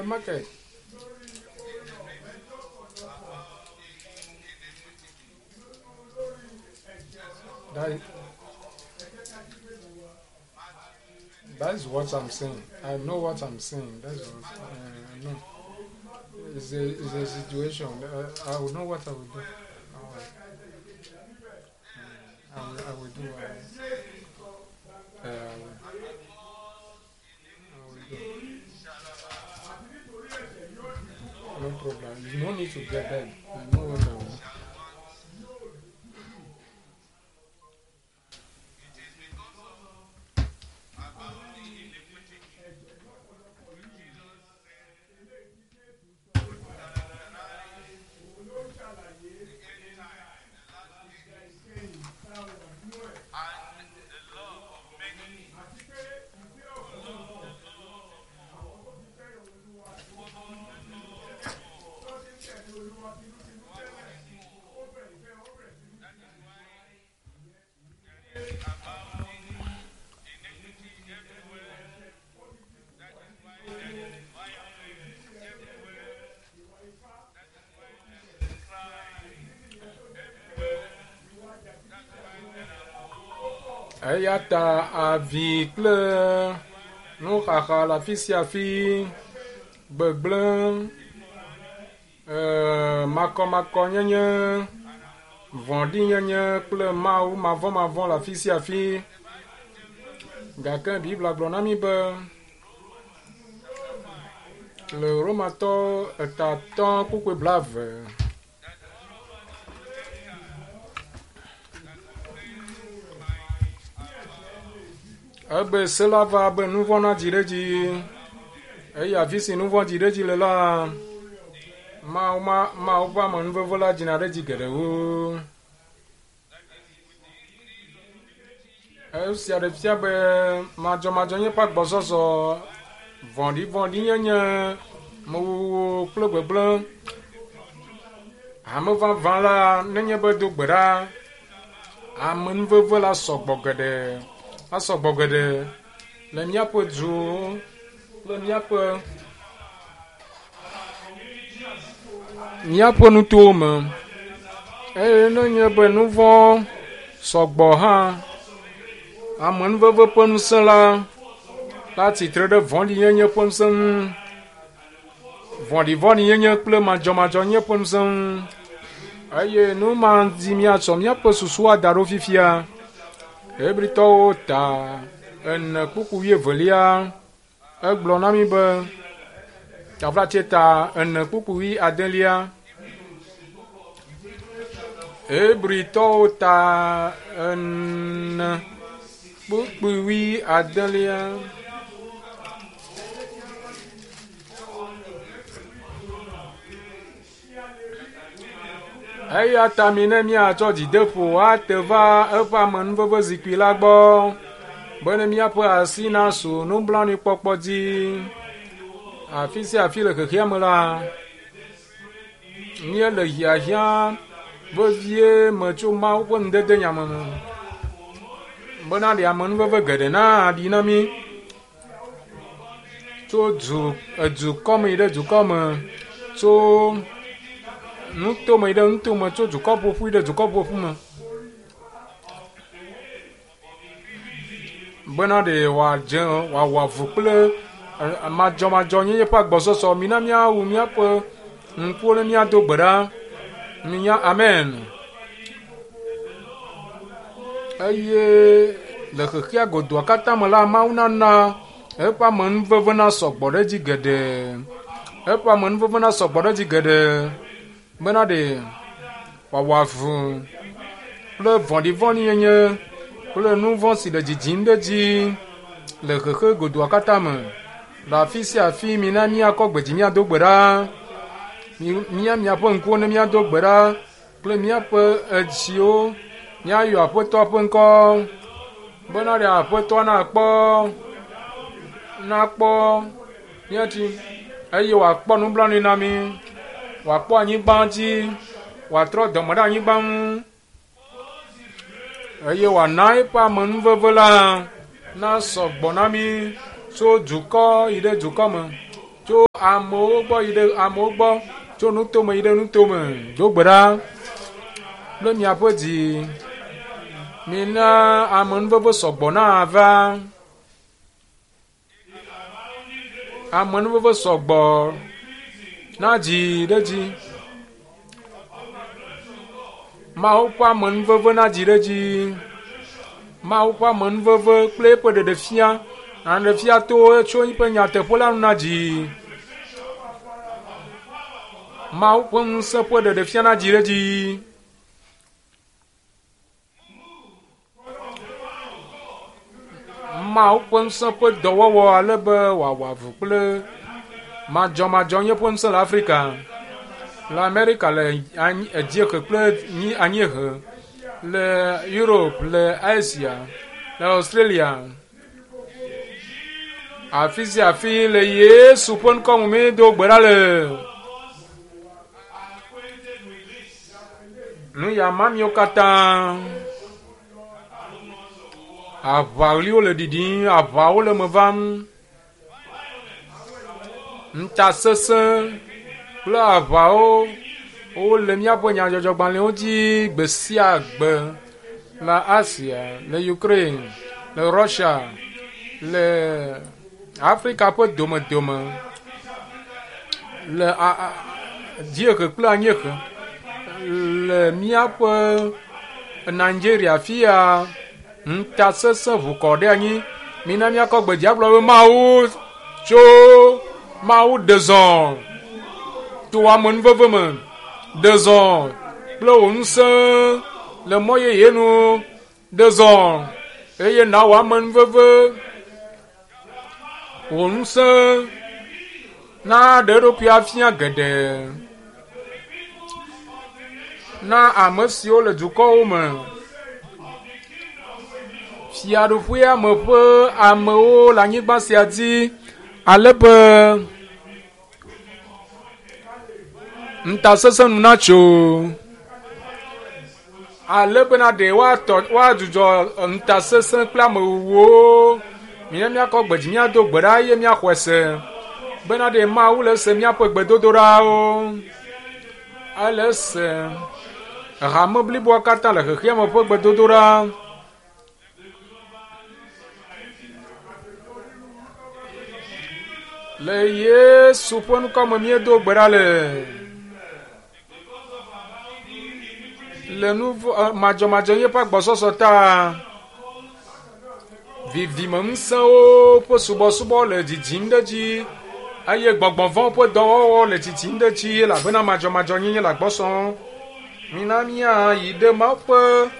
Nenema ke. That, that is what I'm saying. I know what I'm saying. That's what I know. It's a situation. I will know what I will do. I will do. I will do. No problem. You no need to get bed. I know what I will do. Eya ta avi kple nuxaxa le afi sia afi, gbegblẽ, makɔmakɔnyenye, vɔ̃ɖinyenye kple Mawu mavɔmavɔ le afi sia afi. Gake Biblia gblɔ na mí be le Romatɔ etatɔ kpukpui 20. Ebe se la va be nu vɔ̃ nadzi ɖe edzi eye afi si nu vɔ̃ dzi ɖe edzi le la, Mawu Mawu ƒe amenuveve la dzina ɖe edzi geɖewo. Esia ɖe fia be madzɔmadzɔnyenye ƒe agbɔsɔsɔ, vɔ̃ɖivɔ̃ɖinyenye, amewuwu kple gbegblẽ. Hame vavã la nenye be do gbe ɖa, amenuveve la sɔgbɔ geɖe, asɔgbɔ geɖe le míaƒe duwo kple míaƒe nutowo me. Eye nenye be nu vɔ̃ sɔgbɔ hã, amenuveve ƒe ŋusẽ la la tsitre ɖe vɔ̃ɖinyenye ƒe ŋusẽ ŋu, vɔ̃ɖivɔ̃ɖinyenye kple madzɔmadzɔnyenye ƒe ŋusẽ ŋu. Eye nu ma dzi míatsɔ míaƒe susu ada ɖo fifia. Hebritɔwo ta 4 kpukpui 2 egblɔ na mí be taflatse ta 4 kpukpui 9. Hebritɔwo ta 4 kpukpui 9. Eya ta mi ne míatsɔ dzideƒo ate va eƒe amenuveve zikpui la gbɔ bene míaƒe asi nasu nublanuikpɔkpɔ dzi. Afi sia afi le xexea me la, míele hiahiã vevie me tso Mawu ƒe nudede nyame me bena ɖe amenuveve geɖe naɖi na mí tso dukɔ me yi ɖe dukɔ me, tso nutome yi ɖe nutome, tso dukɔ ƒoƒu yi ɖe dukɔ ƒoƒu me. Bena ɖe wòadze wòawɔ avu kple madzɔmadzɔnyenye ƒe agbɔsɔsɔ. Mina míawu míaƒe ŋkuwo ne míado gbe ɖa. Minya amen. Eye le xexea godoa katã me la, Mawu nana eƒe amenuveve nasɔgbɔ ɖe edzi geɖe. Eƒe amenuveve nasɔgbɔ ɖe edzi geɖe bena ɖe wòawɔ avu kple vɔ̃ɖivɔ̃ɖinyenye kple nu vɔ̃ si le dzidzim ɖe edzi le xexe godoa katã me. Le afi sia afi mina míakɔ gbe dzi míado gbe ɖa. Mía miaƒe ŋkuwo ne míado gbe ɖa kple míaƒe edziwo míayɔ Aƒetɔa ƒe ŋkɔ bena ɖe Aƒetɔa nakpɔ mía dzi eye wòakpɔ nublanui na mí, wòakpɔ anyigba dzi, wòatrɔ dɔme ɖe anyigba ŋu eye wòana eƒe amenuveve la nasɔgbɔ na mí tso dukɔ yi ɖe dukɔ me, Tso amewo gbɔ yi ɖe amewo gbɔ, tso nutome yi ɖe nutome. Do gbe ɖa kple miaƒe dzi. Mina amenuveve sɔgbɔ nava. Amenuveve sɔgbɔ nadzi ɖe dzi. Mawu ƒe amenuveve nadzi ɖe dzi. Mawu ƒe amenuveve kple eƒe ɖeɖefia aɖefia to tso eƒe nyateƒe la nu nadzi. Mawu ƒe ŋusẽ ƒe ɖeɖefia nadzi ɖe dzi. Mawu ƒe ŋusẽ ƒe dɔwɔwɔ ale be wòawɔ avu kple madzɔmadzɔnye ƒe ŋusẽ le Afrika, le Amerika, le dziehe kple anyiehe, le Europe, le Asia, le Australia. Afi sia afi le Yesu ƒe ŋkɔ me míedo gbe ɖa le. Nu ya ma miwo katã. Aʋaɣliwo le ɖiɖim, aʋawo le me vam. Ŋutasesẽ kple aʋawo wole míaƒe nyadzɔdzɔgbalẽwo dzi gbe sia gbe le Asia, le Ukraine, le Russia, le Afrika ƒe domedome, le dziehe kple anyiehe, le míaƒe Nigeria fia ŋutasesẽ ʋu kɔ ɖe anyi. Mina míakɔ gbe dzi agblɔ be Mawu tso Mawu ɖe zɔ to amenuveve me, ɖe zɔ kple wò ŋusẽ le mɔ yeye nu, ɖe zɔ eye nawɔ amenuveve wò ŋusẽ naɖe eɖokui afia geɖe na ame siwo le dukɔwo me. Fiaɖuƒea me ƒe amewo le anyigba sia dzi ale be ŋutasesẽ nu natso ale bena ɖe woatɔ woadzudzɔ ŋutasesẽ kple amewuwuwo. Mina míakɔ gbe dzi míado gbe ɖa eye míaxɔe se bena ɖe Mawu le ese míaƒe gbedodoɖawo. Ele ese hame bliboa katã le xexea me ƒe gbedodoɖa. Le Yesu ƒe ŋkɔ me míedo gbe ɖa le. Le nu madzɔmadzɔnyenye ƒe agbɔsɔsɔ ta, vivimeŋusẽwo ƒe subɔsubɔ le dzidzim ɖe edzi eye gbɔgbɔ vɔ̃ ƒe dɔwɔwɔ le dzidzim ɖe edzi elabena madzɔmadzɔnyenye le agbɔ sɔm. Mina míayi ɖe Mawu ƒe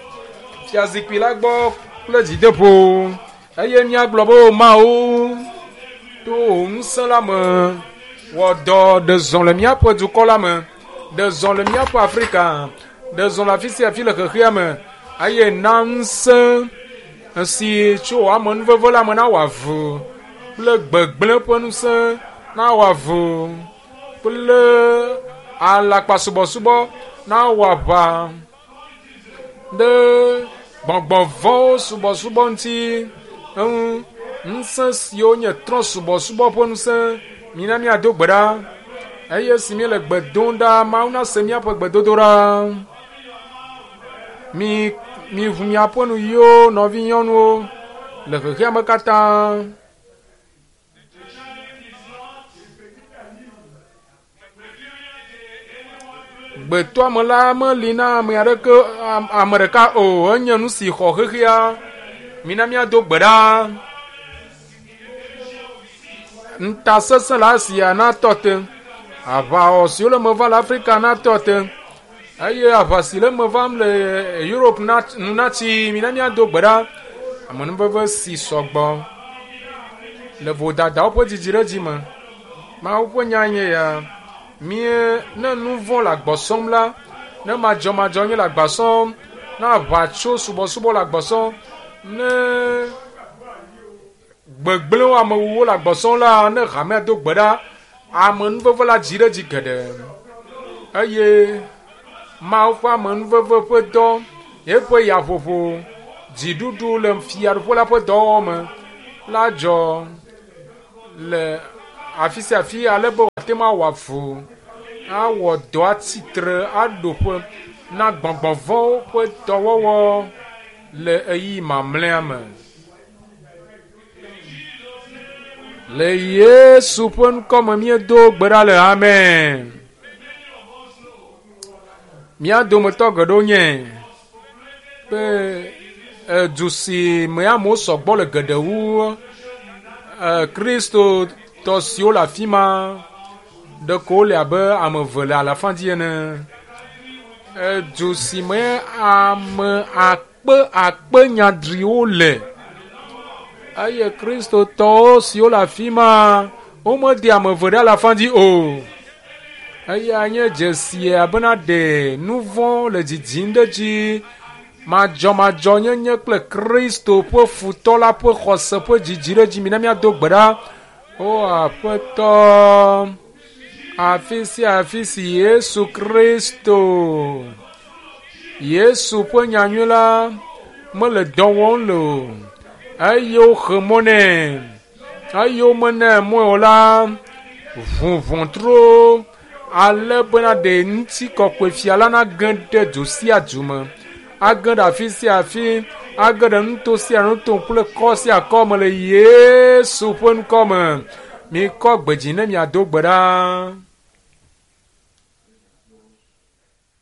fiazikpui la gbɔ kple dzideƒo eye míagblɔ be, O Mawu, to wò ŋusẽ la me, wɔ dɔ ɖe zɔ le míaƒe dukɔ la me, ɖe zɔ le míaƒe Afrika, ɖe zɔ le afi sia afi le xexea me, eye na ŋusẽ si tso wò amenuveve la me nawɔ avu kple gbegblẽ ƒe ŋusẽ nawɔ avu kple alakpasubɔsubɔ nawɔ aʋa ɖe gbɔgbɔ vɔ̃wo subɔsubɔ ŋuti eŋu. Ŋusẽ siwo nye trɔ̃subɔsubɔ ƒe ŋusẽ, mina míado gbe ɖa eye esi míele gbe dom ɖa, Mawu nase míaƒe gbedodoɖa. Mi miʋu miaƒe nuyiwo, nɔvinyɔnuwo le xexea me katã. Gbetɔame la meli na ame aɖeke ame ɖeka o. Enye nu si xɔ xexea. Mina míado gbe ɖa. Ŋutasesẽ le Asia natɔ te. Aʋawɔwɔ siwo le eme vam le Afrika natɔ te eye aʋa si le eme vam le Europe nu natsi. Mina míado gbe ɖa. Amenuveve si sɔgbɔ le vodadawo ƒe dzidziɖedzi me. Mawu ƒe nya nye ya. Mie ne nu vɔ̃ le agbɔ sɔm la, ne madzɔmadzɔ nye le agba sɔm, ne aʋatso subɔsubɔ le agbɔ sɔm, ne gbegblẽwo amewuwo le agbɔ sɔm la, ne hamea do gbe ɖa, amenuveve la dzi ɖe edzi geɖe. Eye Mawu ƒe amenuveve ƒe dɔ, eƒe yaƒoƒo, dziɖuɖu le fiaɖuƒe la ƒe dɔwɔwɔ me la dzɔ. Le afi sia afi ale be wòate ŋu awɔ avu, awɔ dɔ atsitre, aɖo ƒe na gbɔgbɔ vɔ̃wo ƒe dɔwɔwɔ le ɣeyiɣi mamlɛa me. Le Yesu ƒe ŋkɔ me míedo gbe ɖa le amen. Mía dometɔ geɖewo nye be edu si me amewo sɔgbɔ le geɖe wu Kristotɔ siwo le afi ma ɖeko wole abe ame eve le alafa dzi ene. Edu si me ame akpe akpe nyadriwo le eye Kristotɔwo siwo le afi ma womede ame eve ɖe alafa dzi o. Eya nye dzesia bena ɖe nu vɔ̃ le dzidzim ɖe edzi. Madzɔmadzɔnyenye kple Kristo ƒe futɔ la ƒe xɔse ƒe dzidzi ɖe edzi. Mina míado gbe ɖa. O Aƒetɔ, afi sia afi si Yesu Kristo, Yesu ƒe nyanyui la mele dɔ wɔm le o eye woxe mɔ nɛ eye womena mɔe o la, ʋu ʋɔtruwo ale bena ɖe ŋutikɔkɔe fia la nage ɖe du sia du me, age ɖe afi sia afi, age ɖe nuto sia nuto kple kɔ sia kɔ me le Yesu ƒe ŋkɔ me. Mikɔ gbe dzi ne miado gbe ɖa.